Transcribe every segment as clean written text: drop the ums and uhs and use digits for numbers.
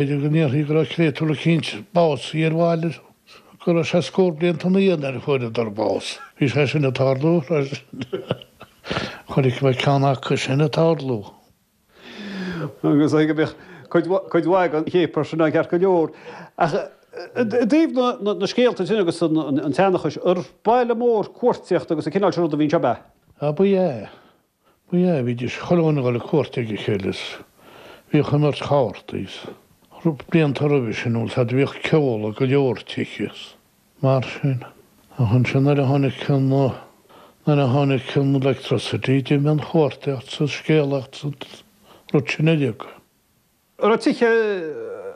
B'fhéidir go ndéarfaí go raibh créatúr eicínt básaithe ar bhaile, go raibh sé scór blianta ina dhiaidh nuair a fuaireadar bás. Bhí sé sin ag tarlú. Chonaic mé ceann acu sin ag tarlú. Agus go mbíodh cuid mhaith den chéapar sin ann ceart go leor. Ach i dtaobh na scéalta sin agus an tseanchais, ar baile mór cuartaíochta agus an cineál sin ruda a bhí anseo, ab ea? Á, ba ea. Ba ea, bhídís chuile dhuine ag dul ag cuairt ag a chéile is bhíodh imirt chártaí is blianta roimhe sin bhfuil 's a'd bhíodh ceol ag go leor tithe is mar sin. Ach ansin nuair a tháinig an, nuair a tháinig an electricity d'imigh an chuartaíocht 's an scéalaíocht 's an rud sin uilig. An raibh tithe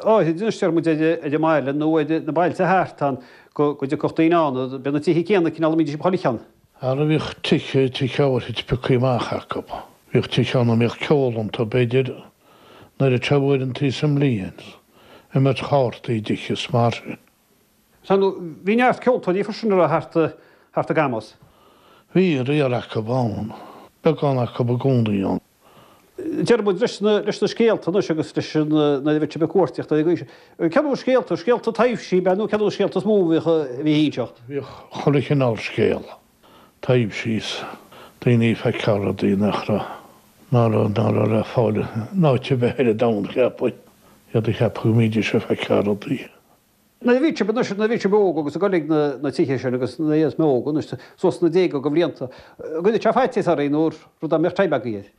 áithrid anois, deir muid, ar an mbaile nó ar na bailte thart ann go dtiocfadh daoine ann, b'é na tithe céanna cineál a mbídís ag chuile cheann. Ara bhíodh tithe, tithe áithrid pioctha amach acu. Bhíodh tithe ann a mbíodh ceol iontu, b'fhéidir, an oiread seo uaireantaí sa mbliain, imirt chártaí i dtithe is mar sin. Sea, nó bhí neart ceoltóirí freisin a raibh thart, thart i gCamus. Bhí, riar acu ann, beagán acu i gcónaí ann. Deir muid leis na, leis na scéalta anois agus leis an, nuair a bheadh sibh ag cuartaíocht ar an gcaoi sin. Céard na scéalta, scéalta taibhsí ab ea nó céard na scéalta is mó a bhíodh, a bhí á inseacht? Bhíodh chuile chineál scéal, taibhsí is daoine ag feiceáil rudaí nach raibh, ná raibh, ná raibh le fáil in áit ar bith ar an domhan, cheapfainn. Iad ag ceapadh go mbídís ag feiceáil rudaí. Nuair a bhí sibh anois, nuair a bhí sibh óg agus ag dul ag na tithe sin agus nuair a bhíos mé óg anois, suas sna déaga de bhlianta, an gcuireadh sé faitíos oraibh nó rud dá mbeadh time agaibh air?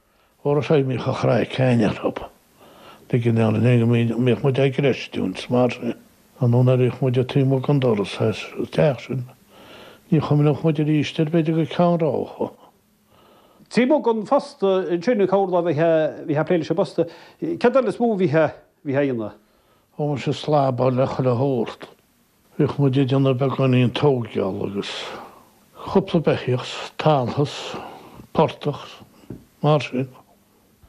Ó raibh sé, bhíodh an chraic againn orthu. Ligean orainn é go mbíodh muid á gcreistiúint mar sin. Nó nuair a bhíodh muid taobh amuigh den doras as an teach sin, ní chuimhneodh muid arís air b'fhéidir go ceann ráithe. Taobh amuigh den phost ansin, an corrlá a bhítheá ag plé leis an bpost, céard eile is mó a bhítheá a dhéanamh? Ó muise slabáil le chuile shórt. Bhíodh muid ag déanamh beagáinín tóigeála agus cúpla beithíoch, talamh, portach, mar sin.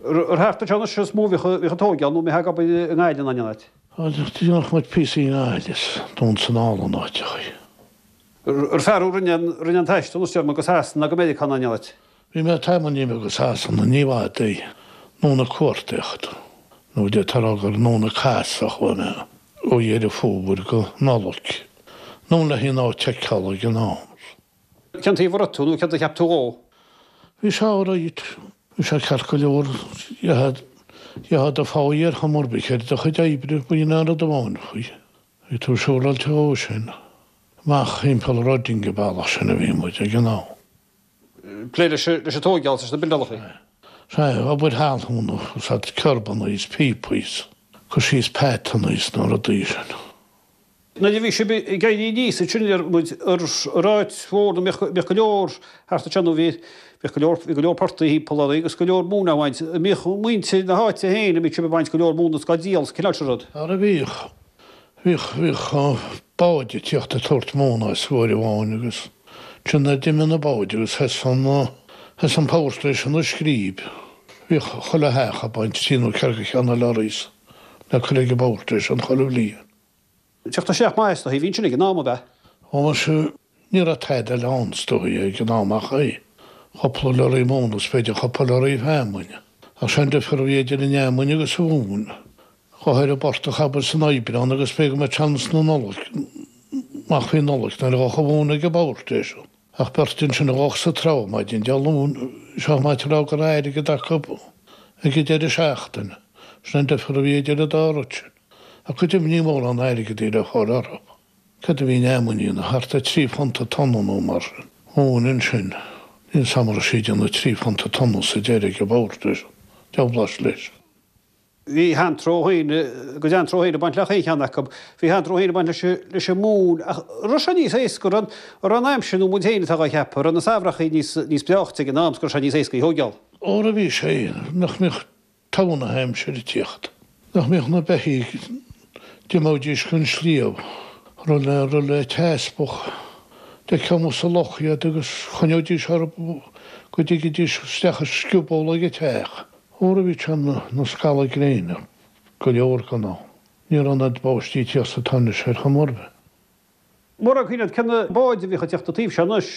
Ar thart anseo anois is mó a bhíodh an tóigeáil nó an mbítheá ag obair i nGaillimh nó in aon áit? Dhéanadh muid píosaí i nGaillimh is Dún san Fhál in áiteachaí. Ar fear thú a rinne an taisteal anois deir muid go Sasana nó go Meiriceá nó in aon áit? Bhí mé tamaillín beag i Sasana, ní i bhfad é, anonn ag cuartaíocht, nó d'fhéadfá a rá gur anonn ag casadh a chuaigh mé, ó Dheireadh Fómhair go Nollaig, anonn le haghaidh an áit a fheiceáil ag an am. Cén taobh a raibh tú, nó céard a cheap tú dhó? Bhí sé alright, bhí sé ceart go leor, gheofá do pháigh ar chuma ar bith ar do chuid oibre, b'in an rud amháin faoi. Bhí tú siúráilte dhó sin. Amach thimpeall Reading an bealach sin a bhí muid ag an am. Plé leis an tóigeáil is na buildeálacha. Sea, obair thalún, úsáid curbanna is píopaí is cur síos patanna is na rudaí sin. Nuair a bhí sibh ag éirí aníos ansin deir muid ar áit mhór nó mbíodh go leor thart anseo nó bhí bhíodh go leor bhí go leor portaigh thimpeall oraibh agus go leor móna á bhaint. An mbíodh muintir na háite féin an mbíodh sibh ag baint go leor móna is á díol is cineál sin rud? Ara bhíodh. Bhíodh bhíodh báid ag tíocht ag tabhairt móna as uair amháin agus ansin nuair d'imigh na báid agus sheas an sheas an power station ag scríb, bhíodh chuile theach ag baint trí nó ceithre de cheann na lorries le cur ag an bpower station chuile bhliain. Teacht isteach maith is dóichí, bhí ansin ag an am, ab ea? Ó muise, ní raibh tada eile ann is dóichí ag an am ach é. Cúpla lorry móna is b'fhéidir cúpla lorry feamainn. Ach sé an difear a bhí idir an fheamainn agus an mhóin. Go háirithe i bportach abair san Aibreán agus b'fhéidir go mbeadh seans na Nollag, amach faoi Nollaig nuair a ghabhadh an mhóin ag an bpower station. Ach beirt ansin a ghabhadh sa treabhadh maidin Dé Luain, seo maith a rá go raibh airgead acu ag an deireadh seachtaine. Sin an difear a bhí idir an dá rud sin. Ach go deimhin ní mórán airgid a bhí le fáil orthu. Cad a bhí an fheamainn a dhéanamh? Thart ar £3 an tonna nó mar sin. Móin ansin. Níl 's a'm an raibh sí ag déanamh £3 an tonna sa deireadh ag an bpower station. Deabhlais leis. Bhí antró féin, a gcuid antró féin ag baint le chaon cheann acu. Bhí antró féin ag baint leis an móin ach raibh sé níos éasca, an raibh an aimsir nó muid féin atá dhá cheapadh, raibh na samhrachaí níos, níos breáichte ag an am 's go raibh sé níos éasca í thóigeáil. Óra bhí sé, nach mbíodh togha na haimsire ag tíocht, nach mbíodh na beithígh, d'imeoidís go an sliabh, raibh le, raibh le teaspach, d'fheicfeá amuigh sa loch iad agus choinneoidís orthu go dtigidís isteach i scioból ag an teach. Óra bhí sé na scalladh gréine go leor den am. Ní raibh an oiread báistí ag tíocht is atá anois ar chuma ar bith. Mura cuimhin leat cé na báid a bhíodh ag tíocht an taobh seo anois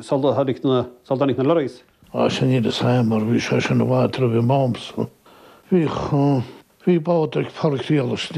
sula tháinig na, sula dtáinig na lorries? Á sea níl fhios a'm mar bhí sé sin i bhfad roimh m'amsa. Bhíodh. Bhí bád ag Pádraic Riallais.